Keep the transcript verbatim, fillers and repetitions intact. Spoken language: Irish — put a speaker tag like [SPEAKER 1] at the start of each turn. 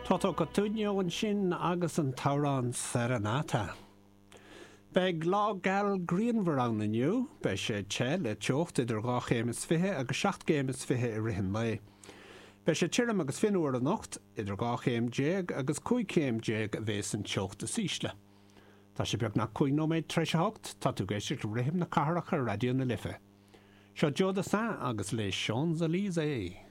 [SPEAKER 1] Toto Cutugno ansin agus an t-amhrán Serenata. Beidh lá geal grianmhar ann inniu, beidh sé te le teocht idir dhá chéim is fiche agus seacht gcéim is fiche i rith an lae. Beidh sé tirim agus fionnuar anocht idir dhá chéim déag agus cúig chéim déag a bheas an teocht is ísle. Tá sé beagnach cúig nóiméad tar éis a hocht tá tú ag éisteacht le Rithim na Cathrach ar Raidió na Life. Seo Joe Dassin agus Les Champs-Élysées.